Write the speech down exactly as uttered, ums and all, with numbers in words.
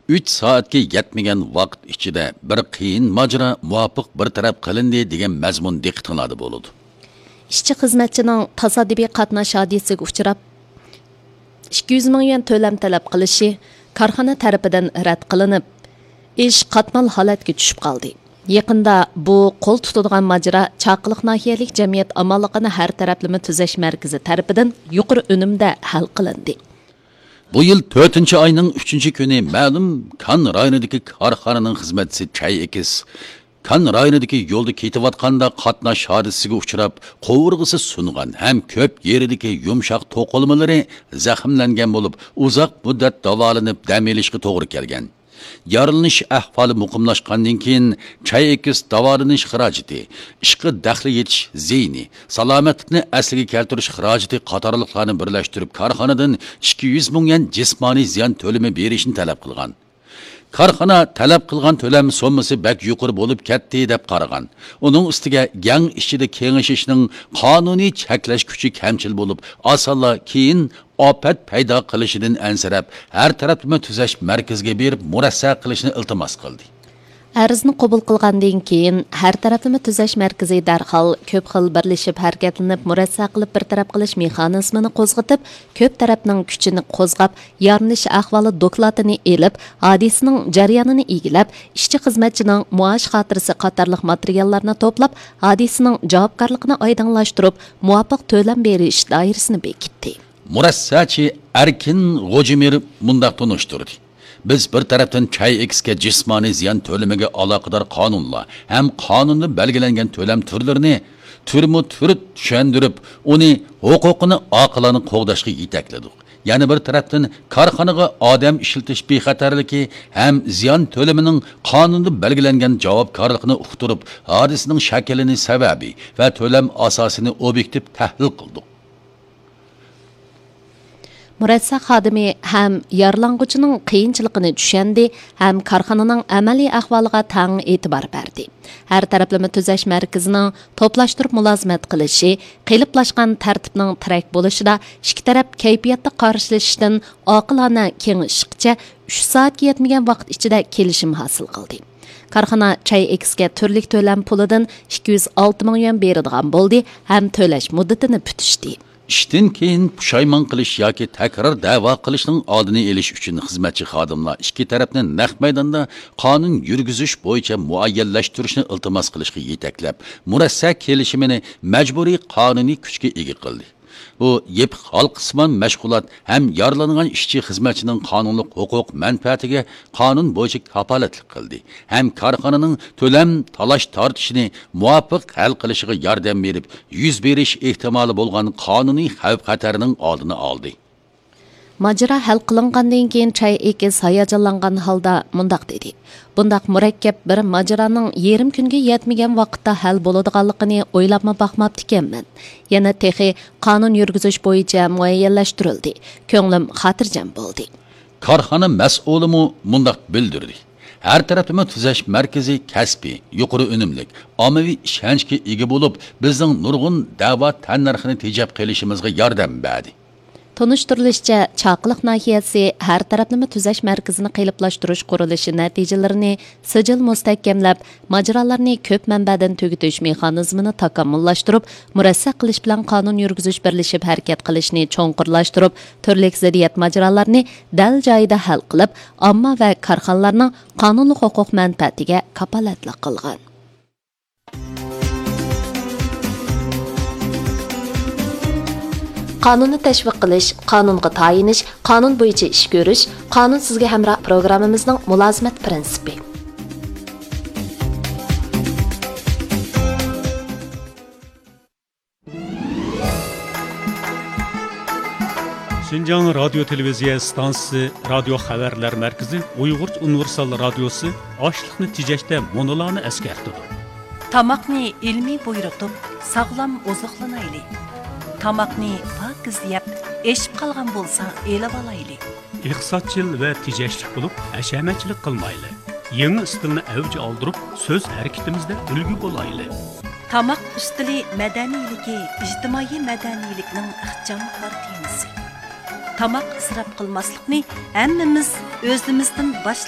ئۈچ سائەتكە يەتمىگەن ۋاقىت ئىچىدە بىر قىيىن ماجىرا مۇۋاپىق بىر تەرەپ قىلىندى دېگەن مەزمۇن دىققىتىڭلاردا بولىدۇ. ئىشچى-خىزمەتچىنىڭ تاسادىپىي قاتناش ھادىسىسىگە ئۇچراپ، ئىككى يۈز مىڭ يۈەن تۆلەم تەلەپ قىلىشى كارخانا تەرىپىدىن رەت قىلىنىپ، ئىش قاتمال ھالەتكە چۈشۈپ قالدى. يېقىندا بۇ قول تۇتىدىغان ماجىرا چاقىلىق ناھىيەلىك جەمئىيەت ئامانلىقىنى ھەر تەرەپلىمە تۈزەش مەركىزى تەرىپىدىن يۇقىرى ئۈنۈمدە ھەل قىلىندى. بۇ يىل تۆتىنچى ئاينىڭ ئۈچىنچى كۈنى مەلۇم كان رايونىدىكى كارخانىنىڭ خىزمەتچىسى چاي ئېكىس كان رايونىدىكى يولدا كېتىۋاتقاندا قاتناش ھادىسىسىگە ئۇچراپ، قوۋۇرغىسى سۇنغان ھەم كۆپ يېرىدىكى يۇمشاق توقۇلمىلىرى زەخىملەنگەن بولۇپ، ئۇزاق مۇددەت داۋالىنىپ دەم ئېلىشقا توغرا كەلگەن. يارىلىنىش ئەھۋالى مۇقىملاشقاندىن كېيىن، چاي ئېكىس داۋالىنىش خىراجىتى، ئىشقا دەخلى يېتىش زىيىنى، سالامەتلىكنى ئەسلىگە كەلتۈرۈش خىراجىتى قاتارلىقلارنى بىرلەشتۈرۈپ، كارخانىدىن ئىككى يۈز مىڭ يۈەن جىسمانىي زىيان تۆلىمى بېرىشنى تەلەپ قىلغان. كارخانا تەلەپ قىلغان تۆلەم سوممىسى بەك يۇقىرى بولۇپ كەتتى، دەپ قارىغان. ئۇنىڭ ئۈستىگە گەڭ ئىچىدە كېڭىشىشنىڭ قانۇنىي چەكلەش كۈچى كەمچىل بولۇپ، ئاسانلا كېيىن ئاپەت پەيدا قىلىشىدىن ئەنسىرەپ، ھەر تەرەپلىمە تۈزەش مەركىزىگە بېرىپ مۇرەسسە قىلىشنى ئىلتىماس قىلدى. ئەرزنى قوبۇل قىلغاندىن كېيىن، ھەر تەرەپلىمە تۈزەش مەركىزى دەرھال كۆپ خىل بىرلىشىپ ھەرىكەتلىنىپ، مۇرەسسە قىلىپ بىر تەرەپ قىلىش مېخانىزمىنى قوزغىتىپ، كۆپ تەرەپنىڭ كۈچىنى قوزغاپ، يارىلىنىش ئەھۋالى دوكلاتىنى ئېلىپ، ھادىسىنىڭ جەريانىنى ئىگىلەپ، ئىشچى-خىزمەتچىنىڭ مائاش خاتىرىسى قاتارلىق ماتېرىياللارنى توپلاپ، ھادىسىنىڭ جاۋابكارلىقىنى ئايدىڭلاشتۇرۇپ، مۇۋاپىق تۆلەم بېرىش دائىرىسىنى بېكىتتى. مۇرەسسەچى ئەركىن غوجىمىر مۇنداق تونۇشتۇردى: بىز بىر تەرەپتىن چاي ئېكىسكە جىسمانىي زىيان تۆلىمىگە ئالاقىدار قانۇنلار ھەم قانۇندا بەلگىلەنگەن تۆلەم تۈرلىرىنى تۈرمۇ تۈر چۈشەندۈرۈپ، ئۇنى ھوقۇقىنى ئاقىلانە قوغداشقا يېتەكلىدۇق. يەنە بىر تەرەپتىن، كارخانىغا ئادەم ئىشلىتىش بىخەتەرلىكى ھەم زىيان تۆلىمىنىڭ قانۇندا بەلگىلەنگەن جاۋابكارلىقىنى ئۇقتۇرۇپ، ھادىسىنىڭ شەكلىنى، سەۋەبى ۋە تۆلەم ئاساسىنى ئوبيېكتىپ تەھلىل قىلدۇق. مۇرەسسە خادىمى ھەم يارىلانغۇچىنىڭ قىيىنچىلىقىنى چۈشەندى ھەم كارخانىنىڭ ئەمەلىي ئەھۋالىغا تەڭ ئېتىبار بەردى. ھەر تەرەپلىمە تۈزەش مەركىزىنىڭ توپلاشتۇرۇپ مۇلازىمەت قىلىشى، قېلىپلاشقان تەرتىپنىڭ تىرەك بولۇشىدا ئىككى تەرەپ كەيپىياتتا قارشىلىشىشتىن ئاقىلانە كېڭىشىشقىچە ئۈچ سائەتكە يەتمىگەن ۋاقىت ئىچىدە كېلىشىم ھاسىل قىلدى. كارخانا چاي ئېكىسكە تۈرلۈك تۆلەم پۇلىدىن ئىككى يۈز ئالتە مىڭ يۈەن بېرىدىغان بولدى ھەم تۆلەش مۇددىتىنى پۈتۈشتى. ئىشتىن كېيىن پۇشايمان قىلىش ياكى تەكرار دەۋا قىلىشنىڭ ئالدىنى ئېلىش ئۈچۈن خىزمەتچى خادىملار ئىككى تەرەپنى نەق مەيداندا قانۇن يۈرگۈزۈش بويىچە مۇئەييەنلەشتۈرۈشنى ئىلتىماس قىلىشقا يېتەكلەپ، مۇرەسسە كېلىشىمىنى مەجبۇرىي قانۇنىي كۈچكە ئىگە قىلدى. بۇ يېپىق ھالقىسىمان مەشغۇلات ھەم يارىلانغان ئىشچى خىزمەتچىنىڭ قانۇنلۇق ھوقۇق مەنپەئەتىگە قانۇن بويىچە كاپالەتلىك قىلدى ھەم كارخانىنىڭ تۆلەم تالاش تارتىشىنى مۇۋاپىق ھەل قىلىشىغا ياردەم بېرىپ، يۈز بېرىش ئېھتىمالى بولغان قانۇنىي خەۋپ خەتەرنىڭ ئالدىنى ئالدى. ماجىرا ھەل قىلىنغاندىن كېيىن، چاي ئېكىس ھاياجانلانغان ھالدا مۇنداق دېدى: بۇنداق مۇرەككەپ بىر ماجىرانىڭ يېرىم كۈنگە يەتمىگەن ۋاقىتتا ھەل بولىدىغانلىقىنى ئويلاپمۇ باقماپتىكەنمەن. يەنە تېخى قانۇن يۈرگۈزۈش بويىچە مۇئەييەنلەشتۈرۈلدى. كۆڭلۈم خاتىرجەم بولدى. كارخانا مەسئۇلىمۇ مۇنداق بىلدۈردى: ھەر تەرەپلىمە تۈزەش مەركىزى كەسپىي، يۇقىرى ئۈنۈملۈك، ئاممىۋى ئىشەنچكە ئىگە بولۇپ، بىزنىڭ نۇرغۇن دەۋا تەننەرخىنى تېجەپ قېلىشىمىزغا ياردەم بەردى. تونۇشتۇرۇلۇشىچە، چاقىلىق ناھىيەسى ھەر تەرەپلىمە تۈزەش مەركىزىنى قېلىپلاشتۇرۇش قۇرۇلۇشى نەتىجىلىرىنى سىجىل مۇستەھكەملەپ، ماجىرالارنى كۆپ مەنبەدىن تۈگىتىش مېخانىزمىنى تاكامۇللاشتۇرۇپ، مۇرەسسە قىلىش بىلەن قانۇن يۈرگۈزۈش بىرلىشىپ ھەرىكەت قىلىشنى چوڭقۇرلاشتۇرۇپ، تۈرلۈك زىددىيەت ماجىرالارنى دەل جايىدا ھەل قىلىپ، ئامما ۋە كارخانىلارنىڭ قانۇنلۇق ھوقۇق مەنپەئەتىگە كاپالەتلىك قىلغان. قانۇننى تەشۋىق قىلىش، قانۇنغا تايىنىش، قانۇن بويىچە ئىش كۆرۈش، قانۇن سىزگە ھەمراھ پروگراممىمىزنىڭ مۇلازىمەت پىرىنسىپى. شىنجاڭ رادىيو تېلېۋىزىيە ئىستانسىسى رادىيو خەۋەرلەر مەركىزى ئۇيغۇرچە ئۇنىۋېرسال رادىيوسى ئاشلىقنى تېجەشتە مۇنۇلارنى ئەسكەرتىدۇ. تاماقنى ئىلمىي بۇيرۇتۇپ، ساغلام ئوزۇقلىنايلى. تاماقنى پاكىز يەپ، ئېشىپ قالغان بولسا ئېلىۋالايلى. ئىقتىسادچىل ۋە تېجەشلىك بولۇپ، ھەشەمەتچىلىك قىلمايلى. يېڭى ئىستىلنى ئەۋج ئالدۇرۇپ، سۆز ھەرىكىتىمىزدە ئۈلگە بولايلى. تاماق ئۈستىلى مەدەنىيلىكى ئىجتىمائىي مەدەنىيلىكنىڭ ئىخچام كارتىنىسى. تاماق ئىسراپ قىلماسلىقنى ھەممىمىز ئۆزىمىزدىن باشلايلى.